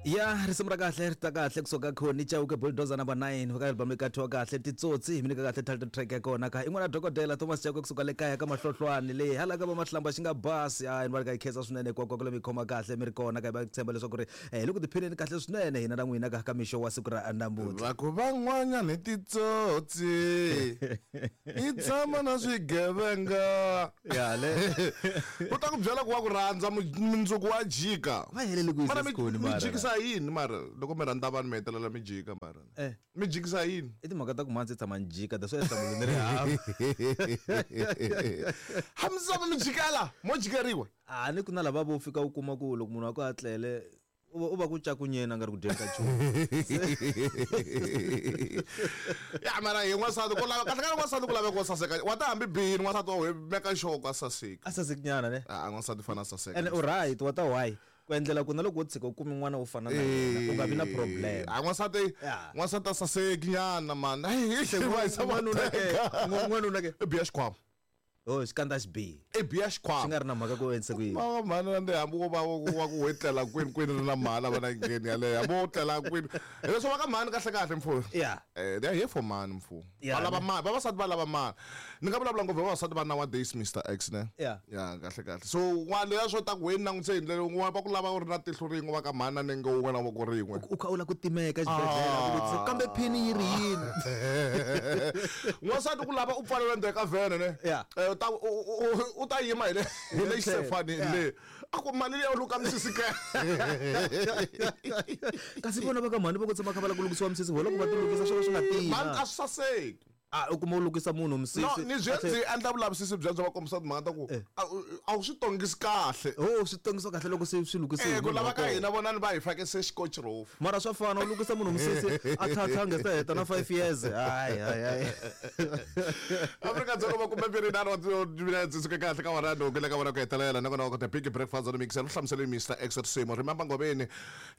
Ya risimu ra kahle ri ta kahle kusuka Khoni Chauke Bulldozer number 9 ka album leyi kathiwa kahle Titsotsi hi mi nyika kahle title track ya kona ka i n'wana dokodela Thomas Chauke kusuka le kaya ka Mahlohlwani le hala ka va Mahlamba xi nga basi a ni va ri ka yi khensa swinene hinkwako le mi khoma kahle mi ri kona ka va tshemba leswaku ri hi le ku tiphineni kahle swinene hina na n'wina ka ka mixo wa siku ra namuntlha. Va ku van'wanyana i titsotsi i tshama na swigevenga. Ya le. U ta ku byela ku wa ku rhandza mundzuku wa jika. Va helele ku Mara yisa sikhoni mi mara. jikisa yini mara loko mi rhandza vanhu mi hetelela mi jika mara. Eh. Mi jikisa yini? I timhaka ta ku mhandzi tshama ni jika that's why nhlamulo ni ri hava. Hamisava mi jikela mo jikeriwa. A ni ku na lava vo fika u kuma ku loko munhu wa ku a tlele u va ku cakunyeni a nga ri ku dyeni ka nchumu. Ya mara hi n'wansati ku lava kahle kahle n'wansati ku laveka wo saseka wa ta hambi bihini n'wansati wa meka sure ku a saseka. A saseki nyana ne? A n'wansati fana a saseka. Ene u right wa ta why? Ku endlela ku na loko wo tshika u kume n'wana wo fana na yena u nga vi na problem. A n'wansati n'wansati a saseki nyana man. N'wanuna ke n'wanuna ke i biya xikhwama. Oh xikandza xi bihi. I biya xikhwama. Swi nga ri na mhaka ku endlise ku yini. Va mhani na hambi wo va wa ku we tlela kwini kwini ri na mhani a va na ngheni yaleyo hambi wo tlela kwini. Hileswo va ka mhani kahle kahle mfo. Yeah. Eh they are here for money mfo. Yeah, Va lava ne. mali vavasati va lava mali. Ni nga vulavula ngopfu hi vavasati va nowadays Mr X ne. Yeah. Ya kahle kahle. So n'wana leya swo ta ku wena langutise hi ndlela yin'wana va ku lava u ri na tihlo rin'we va ka mhani na nenge wun'we na voko rin'we. U kha u lava ku timeka exibedhlele a ku vutisa kambe phini yi ri yini. N'wansati ku lava u pfaleriwa endzeni ka vhene ne. Yeah. Eh, u ta u ta yima hi le hi le xisefanini Yeah. le. A ku mali liya u luka misisi ke. Kasi vona va ka mhani va ku tshama kha va lava ku lukisiwa misisi vona loko va ti lukisa swo ka swi nga tiyi. Mhani a swi saseki. A u kuma u lukisa munhu misisi. No, ni byi ndzi endla vulavisisi byebyo va kombisa timhaka ta ku Eh. a wu swi tongisi kahle. Oh, swi tongisiwa kahle loko se swi lukisiwe. Eh, ku lava ka hina vonani va hi fake se xikochi rofu. Mara swa fana u lukisa munhu misisi a tlhantlha nge se heta na 5 years. Hayi hayi hayi. Afrika Dzonga va kumbe mbirhi nharhu wa timinetse suke kahle ka wona loko le ka vona ku hetelela nakona va kota big breakfast on mixer u hlamusele Mr X risimu remember Ngobeni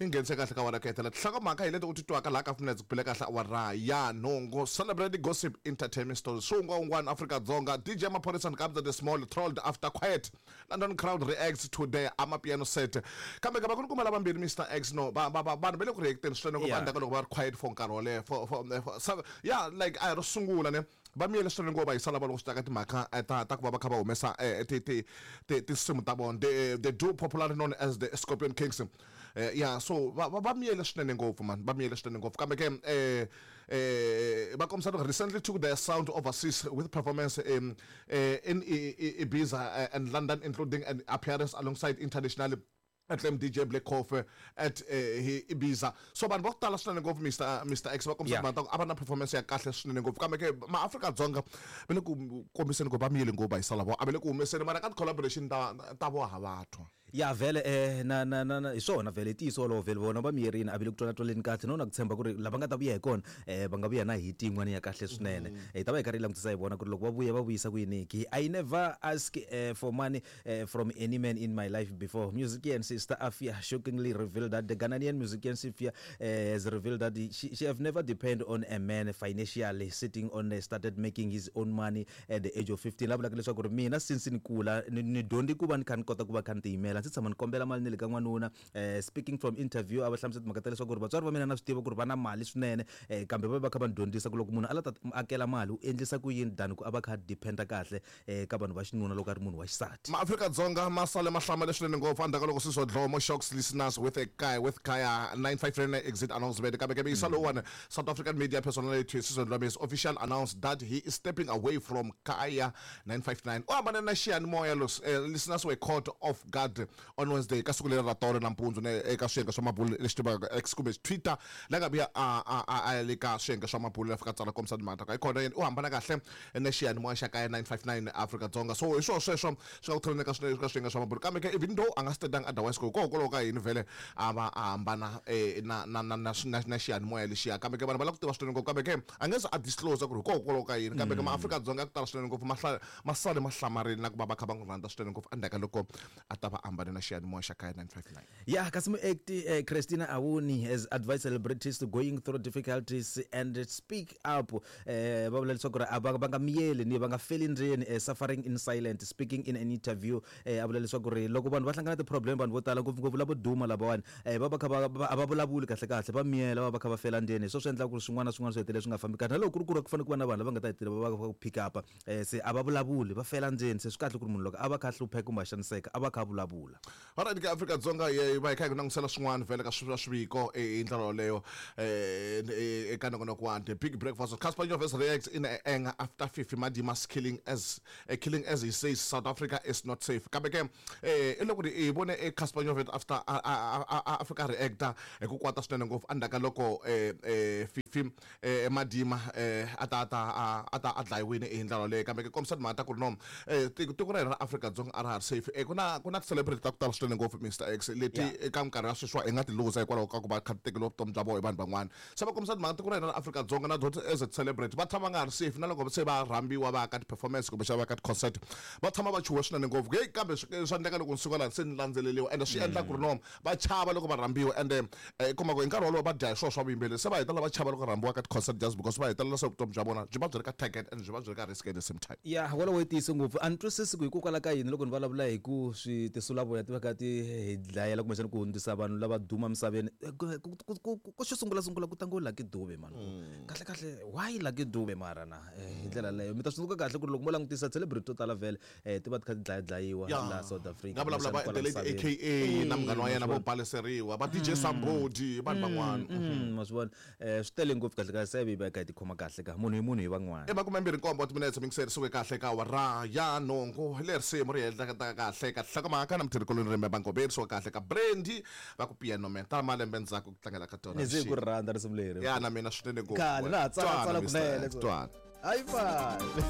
yi nghenise kahle ka wona ku hetelela tinhlokomhaka hi leti u ti twaka laha ka minetse ku bile kahle awara ya nhungu celebrate gossip entertainment stories swi un'wana un'wana Afrika Dzonga DJ Maphorisa and Kabza the Small trolled after quiet London crowd reacts to the amapiano set kambe ka va ku ri kuma lavambirhi Mr X no va va vanhu va le ku reacteni swinene ngopfu Yeah. endzhaku ka loko va ri quiet for nkarhi wo leha for yeah like a hi ro sungula ne va miyele swinene ngopfu va yisa lava loko swi ta ka timhaka ta ta ku va va kha va humesa ti ti ti tinsimu ta vona the duo popularly known as the Scorpion Kings yeah so va va miyele swinene ngopfu man va miyele swinene ngopfu kambe ke va kombisa loko recently took their sound overseas with performance in Ibiza and London including an appearance alongside international acclaimed DJ Black Coffee at Ibiza so vanhu va ku tala swinene ngopfu Mr X va kombisa Yeah. timhaka ta ku a va na performance ya kahle swinene ngopfu kambe ke maAfrika-Dzonga va le ku kombiseni ku va miyele ngopfu va yisa lavo a va le ku humeseni mara ka ti-collaboration ta ta vo hava twa Ya vhele na na na na hi swona vhele i ntiyiso wolowo vhele vona va miyerini a va le ku twala-twaleni kahle no na ku tshemba ku ri lava nga ta vuya hi kona va nga vuya na hit yin'wana ya kahle swinene hi ta va hi karhi hi langutisa hi vona ku ri loko va vuya va vuyisa ku yini ki I never ask for money from any man in my life before musician sister Afia shockingly revealed that the Ghanaian musician Sifia has revealed that she have never depend on a man financially sitting on started making his own money at the age of 15 la vulaka leswaku ri mina since ni kula ni dyondzi ku va ni kha ni kota ku va kha ni tiyimela ndzi tshama ni kombela mali ni le ka n'wanuna speaking from interview a va hlamusela timhaka ta leswaku ri vatswari va mina na swi tiva ku ri va na mali swinene kambe va va kha va ni dyondzisa ku loko munhu a la ta akela mali u endlisa ku yini than ku a va kha a dependa kahle ka vanhu va xinuna loko a ri munhu wa xisati. MaAfrika-Dzonga ma sale ma hlamale swinene ngopfu endzhaku ka loko Siswa Dlomo shocks listeners with a guy with Kaya 959 exit announcement. Kambe ke miyisa lowuwani South African media personality Siswa Dlomo has officially announced that he is stepping away from Kaya 959. U hambane na xiyanimoya los listeners were caught off guard on Wednesday ka siku leri ra tolo nampundzu ne eka swiyenge swa mabulo lexi tivaka X kumbe Twitter la nga vuya a a a a ya le ka swiyenge swa mabulo la fika tsala kombisa timhaka ta ku hayikhona yena u hambana kahle na xiyanimoya xa kaya 959 Afrika-Dzonga so hi swona sweswo swi nga ku tholeni ka swinene ka swiyenge swa mabulo kambe ke even though a nga stetanga otherwise ku hikokwalaho ka yini vhele a va a hambana na na na na na na xiyanimoya lexiya kambe ke vanhu va lava ku tiva swinene ngopfu kambe ke a nge se a disclose ku ri hikokwalaho ka yini kambe ke maAfrika-Dzonga ya ku tala swinene ngopfu ma ma sale ma hlamarile na ku va va kha va n'wi rhandza swinene ngopfu endzhaku ka loko a ta va ambale. hambani na xiyanimoya xa kaya 959. Yeah, kasi muacti Christina Awuni has advised celebrities to going through difficulties and speak up. Va vula leswaku ri a va nga miyeli ni va nga feli ndzeni, suffering in silent. Speaking in an interview, a vula leswaku ri loko vanhu va hlangana ti-problem, vanhu vo tala, ngopfungopfu lavo duma lavawani, va va kha va a va vulavuli kahle kahle, va miyela, va va kha va fela ndzeni. Hi swo swi endlaka ku ri swin'wana na swin'wana swi hetelela swi nga fambi kahle, na loko ku ri ku ri ku fanele ku va na vanhu lava nga ta hetelela va va pick up, se a va vulavuli, va fela ndzeni. Se swi kahle ku ri munhu loko a va kha a hlupheka kumbe a xaniseka, a va kha a vulavula. Alright ke, Afrika-Dzonga yi va hi kha hi ku langutisela swin'wana vhele ka swa swiviko hi ndlela yoleyo eka nongonoko wa The Big Breakfast. Cassper Nyovest reacts in anger after Fifi Madima's killing as he says South Africa is not safe. Kambe ke i loko hi vone e Cassper Nyovest after a fika reacta hi ku kwata swinene ngopfu endzhaku ka loko Fifi Madima a ta a dlayiwile hi ndlela yoleyo. Kambe ke kombisa timhaka ta ku ri no tiko ra hina ra Afrika-Dzonga a ra ha ri safe. Ku na ti-celebrity ta ku tala swinene ngopfu, Mr X, leti eka minkarhi ya sweswiwa hi nga ti luza hikwalaho ka ku va kha ti tekeriwa vutomi bya vona hi vanhu van'wana. Se va kombisa timhaka tiko ra hina ra Afrika-Dzonga na dot as a celebrity va tshama va nga ha ri safe, na loko se va rhambiwa va ya ka ti-performance kumbe xa va ka ti-concert, va tshama va chuhe swinene ngopfu. Heyi, kambe swa endleka loko ni suka laha se ni landzeleriwa, ende swi endla ku ri no va chava loko va rhambiwa, ende kuma ku hi nkarhi wolowo va dya hi swona swa vuyimbeleri, se va hetelela va chava loko rhambiwa ka ti-concert just because va hetelela se vutomi bya vona byi va byi ri ka target and byi va byi ri ka risk at the same time. Ya, wolowo i ntiyiso ngopfu. A ni twisisi ku hikokwalaho ka yini loko ni vulavula hi ku swi tinsulavoya ti va kha ti hi dlayela kumbexana ku hundzisa vanhu lava duma misaveni. Ku xo sungula sungula ku ta ngo Lucky Dube mani. Kahle kahle, why Lucky Dube? Mara na hi ndlela leyo mi ta swi tsundzuka kahle ku ri loko mo langutisa celebrity to tala vhele ti va ti kha ti dlayadlayiwa laha South Africa, nga vulavula va kumbexana kwala the late misaveni. AKA na munghana wa yena vo baleseriwa va DJ Sambodi, vanhu van'wana. Ma swi vona, swi tele ngopfu. Kahle kahle se hi va kha hi tikhoma kahle ka munhu hi munhu hi van'wana. I 27 wa timinetse mingiseri suke kahle ka awara ya 8. Hi le risimu ri hehleketa kahle ka hlokomhaka na mutirhikuloni rimbe bangoberi suka kahle ka Brandy va ku Piano Man ta malembe ndzhaku ku tlangela ka tona. Ni ze ku ri rhandza risimu leri. Ya, na mina swinene ngopfu. Khale na ha tsala Twana, tsala Mr. kunene. X, twana. Hayi fani.